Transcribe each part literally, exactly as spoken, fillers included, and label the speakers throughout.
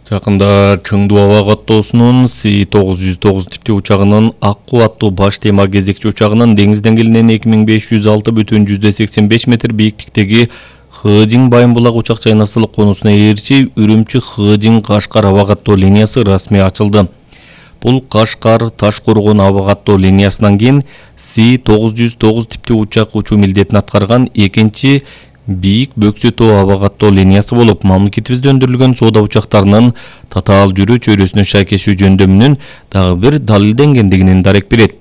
Speaker 1: Жакында Чыңдуу аба каттоосунун Си тогуз жүз тогуз типтүү учагынын Аккуу аттуу баш тема кезекчи учагынын деңиз деңгээлинен эки миң беш жүз алты бүтүн жүздө сексен беш метр бийиктиктеги Хыжың Байымбулак учак чайнасылык конусуна ээрчи Үрүмчү Хыжың Кашкар аба каттоо линиясы расмий ачылды. Бул Кашкар Таш-Коргон аба каттоо линиясынан кийин Си тогуз жүз тогуз типтүү учак учуу милдетин аткарган экинчи бийик бөксө тоо аба каттоо линиясы болуп, мамлекетибизде өндүрүлгөн соода учактарынын татаал жүрүү чөйрөсүнө шайкештүү жөндөмүнүн дагы бир далилденгендигинин дарек берет.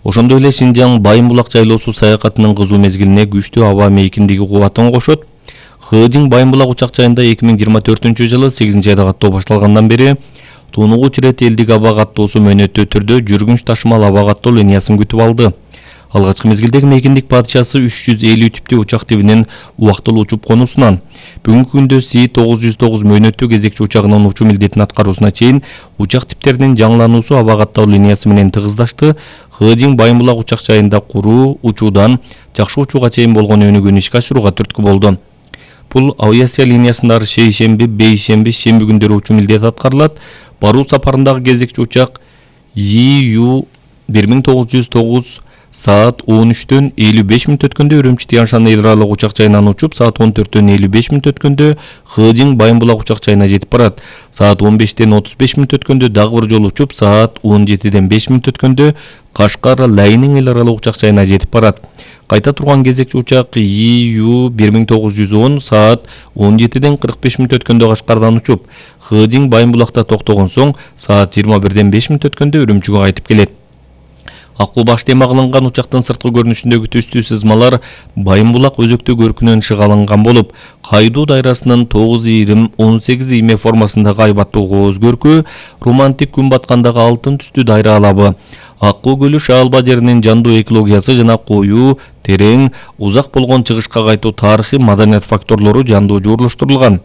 Speaker 1: Ошондой эле Шинжаң Байымбулак жайлоосу саякатынын кызуу мезгилине күчтүү аба мейкиндиги кубатын кошот. Хыжың Байымбулак учак жайында эки миң жыйырма төртүнчү жылы сегизинчи айда каттоо башталгандан бери тунугуч ирет элдик аба каттоосу мөөнөттүү түрдө жүргүнч ташымал аба каттоо линиясын күтүп алды. Алгачкы мезгилдеги мейкиндик падышасы үч жүз элүү типтүү учак тибинин убактылуу учуп конусунан. Бүгүнкү күндө Си тогуз жүз тогуз мөөнөттүү кезекчи учагынын учуу милдетин аткаруусуна чейин учак типтеринин жаңылануусу аба каттоо линиясы менен тыгыздашты. Хыжың Байымбулак учак жайында куруу учуудан жакшы учууга чейин болгон өнүгүүнү ишке ашырууга түрткү болду. Бул авиация линиясында шейшемби, бейшемби, шемби күндөрү учуу милдет аткарылат. Баруу сапарындагы кезекчи учак И Ю бир миң тогуз жүз тогуз саат он үчтөн элүү беш мүнөт өткөндө Үрүмчү Тянь-Шань ыйралык учак жайынан учуп, саат он төрттөн элүү беш мүнөт өткөндө Хыжың Байымбулак учак жайына жетип барат. Саат он бештен отуз беш мүнөт өткөндө дагы бир жолу учуп, саат он жетиден беш мүнөт өткөндө Кашкар Лайнин ыйралык учак жайына жетип барат. Кайта турган кезекчи учак И Ю бир миң тогуз жүз он саат он жетиден кырк беш мүнөт өткөндө Кашкардан учуп, Хыжың Байымбулакта токтогон соң саат жыйырма бирден беш мүнөт өткөндө Үрүмчүгө кайтып келет. Аккуу баш тема кылынган учактын сырткы көрүнүшүндөгү түстүү сызмалар Байымбулак өзөктүү көркүнөн шыга алынган болуп, кайдуу дайрасынын тогуз ийрим он сегиз ийме формасындагы айбаттуу кооз көркү, романтик күн баткандагы алтын түстүү дайра алабы, Аккуу көлү Шаалба жеринин жандуу экологиясы жана коюу, терең, узак болгон чыгышка кайтуу тарыхый маданият факторлору жандуу жуурулуштурулган.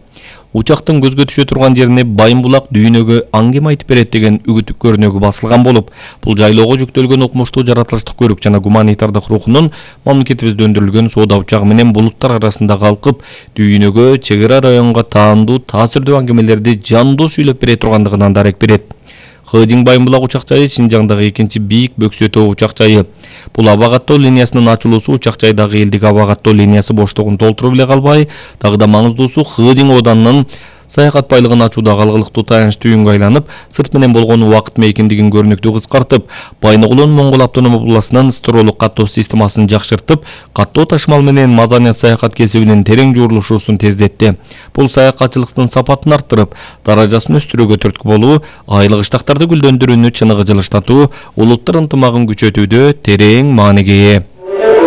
Speaker 1: Учактын көзгө түшө турган жерине Байымбулак дүйнөгө аңгем айтып берет деген үгүт көрүнөгү басылган болуп, бул жайлоого жүктөлгөн укмуштуу жаратылыштык көрүк жана гуманитардык рухунун мамлекетибизде өндүрүлгөн соода учагы менен булуттар арасында калкып, дүйнөгө, чек ара районго таандуу, таасирдүү аңгемелерди жандуу сүйлөп бере тургандыгынан дарек берет. Хыжың Байымбулак учак жайы Шинжаңдагы экинчи бийик бөксө тоо учак жайы. Бул аба каттоо линиясынын ачылуусу учак жайдагы элдик аба каттоо линиясы боштугун толтуруп эле калбай, дагы да маңыздуусу Хыжың Оданынын саякат байлыгын ачуудагы алгылыктуу таяныч түйүнгө айланып, сырт менен болгон убакыт мейкиндигин көрүнүктүү кыскартып, Байногулдун Моңгол автономдук областынын стролук каттоо системасын жакшыртып, каттоо ташмал менен маданият саякат кесибинин терең жуурулушуусун тездетти. Бул саякатчылыктын сапатын арттырып, даражасын өстүрүүгө түрткү болуу, айлык ыштактарды гүлдөндүрүүнү чыныгы жылыштатуу, улуттар ынтымагын күчөтүүдө терең мааниге ээ.